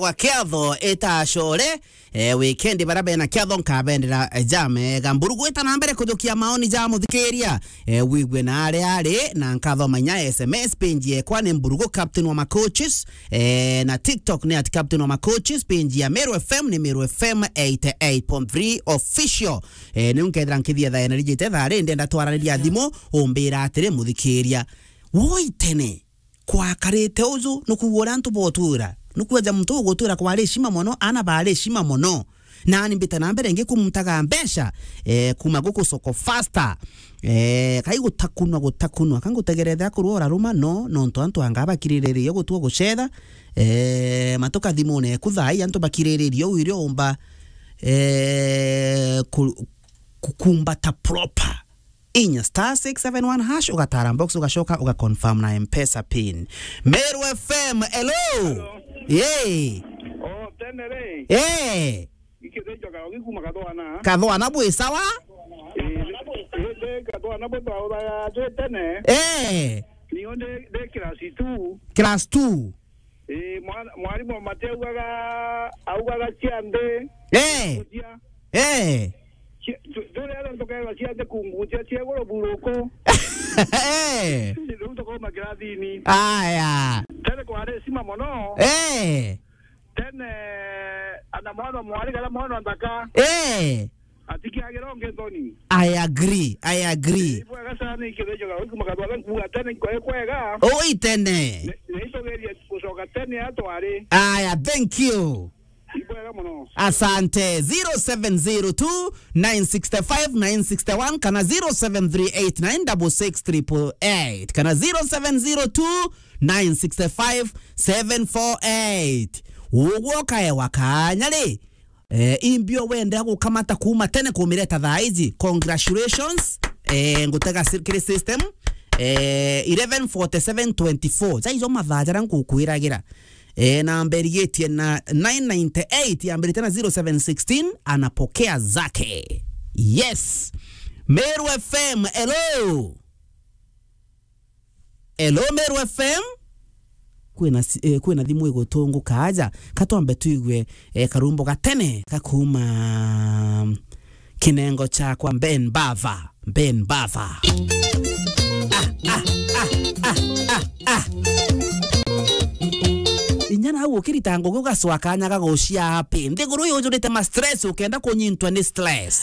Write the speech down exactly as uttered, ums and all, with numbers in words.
gwa kiatho ita core, eh, weekend bara bena kiatho nkabendera, eh, jamega. Mburugu ita na mbere kujukia maoni ja muthikiria, eh, wigue na aria ari, na nkathoma inya S M S. Page yekwa ni Mburugu Captain wa Macoaches, eh, na TikTok ni at Captain wa Macoaches, page ya Meru F M ni Meru F M eighty eight point three Official. Eh, niu nkethira nkithia thaa ena rijite thaa ri, ndenda twaraniria thimu, umbira atiri, muthikiria, woi tene, kwakarite uju, nukuuga uria antu botwira, nukuuga ja muntu ugutwira kwari heshima mono, ana bari heshima mono. Nani mbita na mbere ngikumutaga mbeca, eh, kuma guku soko faster. Eh, kai gutakunwa, gutakunwa, ka ngutegerete akorwa uraruma, no, nontu antu anga bakiriririe gutua gucetha, eh, matuka thimune eku thaa ii antu bakiriririe uu irio umba, eh, ku-, kukumbata proper. Inya star six seven one hash, ugatara box, ugacoka, ugaconfirm na M-Pesa pin. Meru F M, hello. Hello. Yee. Oh, tene ri. Eh. Ikithijo karo gikuma kathwana. Kathwana bwi sawa? Eh, eh, kathwana bwi twauthaga twi tene. Eh. Nio ndi, ndi class two. Class two. Ii, mwana, mwarimu Mate augaga, augaga cia nthi. Eh. Kucia. Eh. Cia, tu, turi aria tukaigua cia nthi kungucia cia iguru buruku. Eh. Riu tukauma kirathini. Aya. Tene kwari heshima mono. Eh. Tene, ana mwana mwari kana mwana nthaka. Eh. Atikiagira ungi nthoni. I agree, I agree. Ibwega sana ni kithijo ga wiki makathwa nkuga tene nkoe kwega. Oi tene. Ne, ne itogerie gucoka tene atwari. Aya, thank you. Ibwega mono. Asante. Zero seven zero two, nine six five, nine six one kana zero seven three eight nine double six triple eight kana zero seven zero two, nine six five, seven four eight. Ugwo kaewa kanya ri? Eh, imbio wendea gukamata kuma tene kumireta thaa iji. Congratulations. Eh, ngutega si-, kiri system. Eh, eleven forty-seven twenty-four. Jaijo mathaa jaria ngukwiragira. Eh, namba irigitie na nine ninety-eight, yambirite na zero seven sixteen, anapokea zake. Yes. Meru F M, hello. Hello, Meru F M. Kwina si-, eh, kwina thimu igutunguka aja. Katwambe tuigue, eh, karumbo gatene kakuma kinengo chakwa Ben Bava. Ben Bava. Ah, ah, ah, ah, ah, ah. Inya nau ukirita ngugi ugacwa kanya ga gucia happy. Nthiguru yujurite ma stress ukenda kunyintwa ni stress.